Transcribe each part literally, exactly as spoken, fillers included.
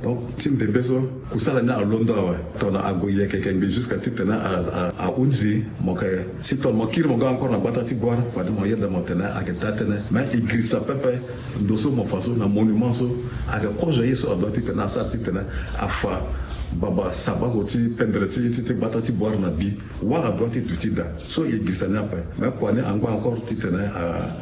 Donc ti mbembe so kusala ni alondo awe. Tongana ague yeke yeke ngbii jusqu'à titene ahunzi mo yeke si tongana mo kiri mo ga encore na gbata ti Bouar, fade mo yeda mo tene ayeke daa tënë. Mais e girisa pepe ndo so mo fa so na monument so ayeke kozo ye so adua titene asara titene afa baba sabango ti pendere ti gbata ti Bouar na bi. Wala adua ti duti daa. So e girisa ni ape. Mais kua ni angba encore titene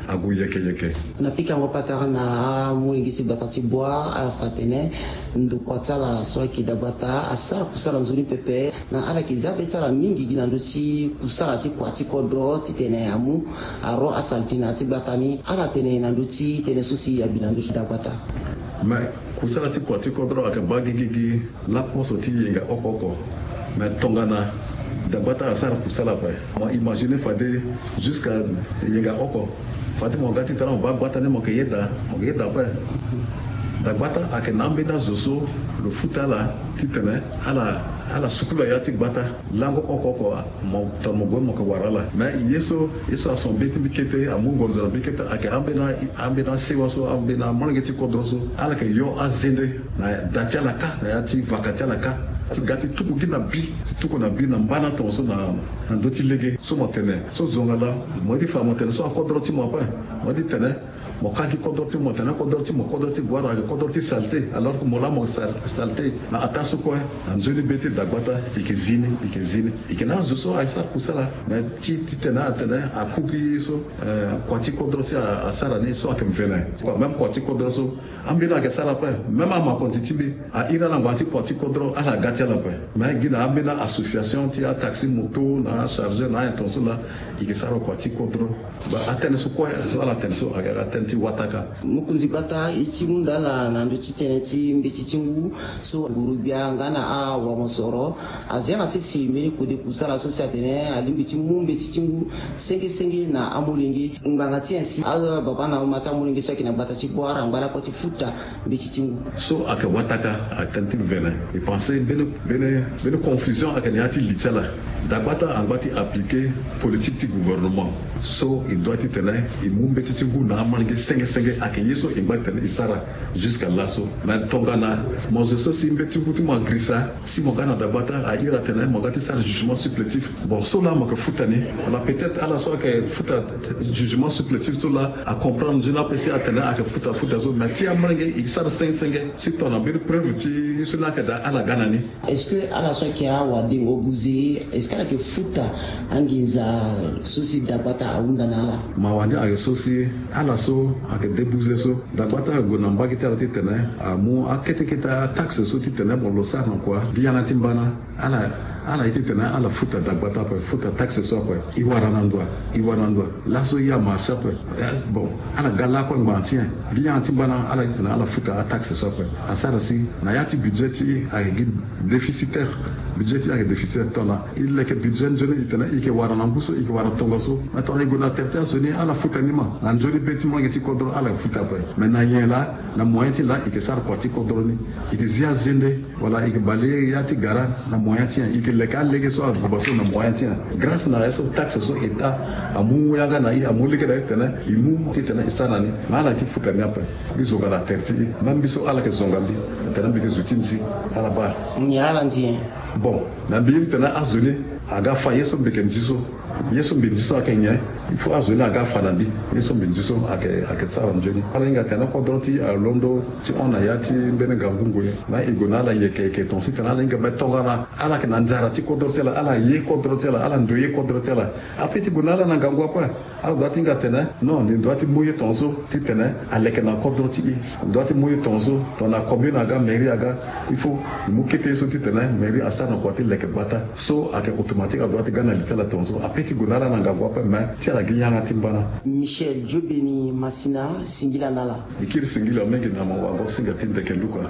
ague yeke yeke. Na pikango patara na amolenge ti gbata ti Bouar, ala fa atene ndokua ti ala so ayeke dagbata asara kusala nzoni pepe. Na ala yeke zia be ti ala mingi gi na ndö ti kusala ti kua ti kodro titene amu aro asalite na ya ti gbata ni. Ala tene na ndö ti tënë so si abi na ndö ti dagbata. Mais kusala ti kua ti kodro ayeke baa gigigi. Laposo ti yenga oko oko. Mais tongana dagbata asara kusala ape, mo imagine fade jusqu'à yenga oko. Fade mo ga titene mo baa gbata ni mo yeke yeda, mo yeke yeda ape. Dagbata ayeke na ambeni azo so lo futa ala titene ala ala sukula ya ti gbata. Lango oko oko mo tongana mo gue mo yeke wara ala. Mais ye so ye so ason be ti mbi kete amu ngonzo na mbi kete ayeke ambeni ambeni asewa so ambeni amolenge ti kodro so ala yeke yo azende na da ti ala kâ na ya ti vaka ti ala kâ ti ga ti tuku gi na bi ti tuku na bi na mbana tongaso na ndö ti lege so mo tene so zonga laa. Mo ye ti fa mo tene so akodro ti mo ape. Mo ye ti tene mo kâ gi kodro ti mo tene kodro ti mo kodro ti Bouar ayeke kodro ti salté alors que mo laa mo salté. Na ataa so kue na nzoni be ti dagbata e yeke zi ni e yeke zi ni e yeke na azo so aye sara kusala. Mais ti titene atene aku gi so kua ti kodro ti asara ni so ayeke mvene. Kua même kua ti kodro so ambeni ayeke sara ape. Même amakonzi ti mbi a iri ala ngbanga ti kua ti kodro ala ga ti ala ape. Mais gi na ambeni association ti ataxi moto na achargeur na ayen tongaso laa e yeke sara kua ti kodro. Atënë so kue so ala tene so ayeke atënë ti wataka. Mokonzi gbata e ti hunda ala na ndö ti tënë ti mbeti ti ngu so nguru-gbia nga na awamosoro azia na sese mbeni kode kusala so si atene alingbi ti mu mbeti ti ngu senge senge na amolenge ngbanga ti nyen si ababa na mama ti amolenge so ayeke na gbata ti Bouar angba lakue ti futa mbeti ti ngu. So ayeke wataka atënë ti mvene. E pense mbeni mbeni mbeni confusion ayeke na ya ti li ti ala. Dagbata angba ti appliquer politique ti gouvernement so e doit titene e mu mbeti ti ngu na amolenge senge senge ayeke ye so e ngba titene e sara. Jusqu'à laso mais tongana mo zo so si mbeti ngu ti mo agirisa si mo ga na dagbata a iri atene mo ga ti sara jugement supplétif. Bon so laa mo yeke futa ni wala peut-être ala so ayeke futa jugement supplétif so laa acomprendre nzoni ape si atene ayeke futa futa so mais ti amolenge e sara senge senge. Si tongana mbeni preuve ti ye so ni ayeke daa ala ga na ni. Est-ce que ala so ayeke awadengo buze est-ce que ala yeke futa anginza so si dagbata ahunda na ala? Mawa ni ayeke so si ala so ayeke de buze so dagbata ague na mbage ti ala titene amu akete kete ataxe so titene mo lo sara na kua gi yanga ti mbana. Ala ala ye titene ala futa dagbata ape futa taxe so ape. E wara na ndo wa e wara na ndo wa. Laso e amarche ape. Bon ala ga lakue ngbanga ti nyen? Gi yanga ti mbana ala ye titene ala futa ataxe so ape. Asara si na ya ti budget ti e ayeke gi déficitaire. Budget ti e ayeke déficitaire tongana e leke budget nzoni e tene e yeke wara na ngu so e yeke wara tongaso. Mais tongana e gue na tere ti azo ni ala futa ni ma na nzoni be ti molenge ti kodro ala futa ape. Mais na nyen laa? Na moyen ti laa e yeke sara kua ti kodro ni. E yeke zi azende wala e yeke bale ya ti gara na moyen ti nyen? E yeke leke alege so aguba so na moyen ti nyen? Grâce na ye so taxe so état amu yanga na e amu lege na e titene e mu titene e sara na ni. Mais ala ye ti futa ni ape. Mbi zonga na tere ti e même mbi so ala yeke zonga mbi. Titene mbi yeke zo ti nzi ala baa. Nyen ala nzi nyen? Bon na mbi ye titene azo ni aga fa ye so mbi yeke nzi so. Ye so mbi nzi so ayeke nyen? Il faut azo ni aga fa na mbi. Ye so mbi nzi so ayeke ayeke sara nzoni. Ala hinga tene kodro ti e alondo ti hon na ya ti mbeni ngangu ngoi. Na e gue na ala yeke yeke tongaso titene ala hinga me tongana ala yeke na nzara ti kodro ti ala ala ye kodro ti ala ala ndo ye kodro ti ala. Ape ti gue na ala na ngangu ape. Ala doit ti hinga tene non ni doit ti mu ye tongaso titene aleke na kodro ti e. Doit ti mu ye tongaso tongana commune aga mairie aga. Il faut e mu kete ye so titene mairie asara na kua ti leke gbata. So ayeke automatique adoit ti ga na li ti ala tongaso ape ti gue na ala na ngangu ape mais ti ala gi yanga ti mbana. Michel Diobeni Masina singila na ala. E kiri singila mingi na mo wago singa ti ndeke luka.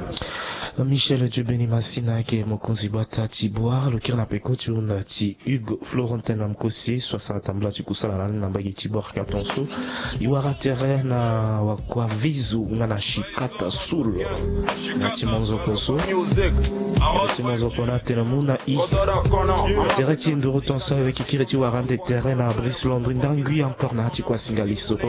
Michel Diobeni Masina ayeke mokonzi gbata ti Bouar lo kiri na peko ti hunda ti Hugues Florentin na Mkosi so asara tambula ti kusala na ni na mbage ti Bouar ka tongaso. E wara tere na wakua Vizu nga na Shikata Sul. Na ti monzoko so na ti monzoko na tene mu na i. Tere ti nduru tongaso aweki kiri ti wara ande tere na Brice Landry ndangui encore na ya ti kua singa lisoko.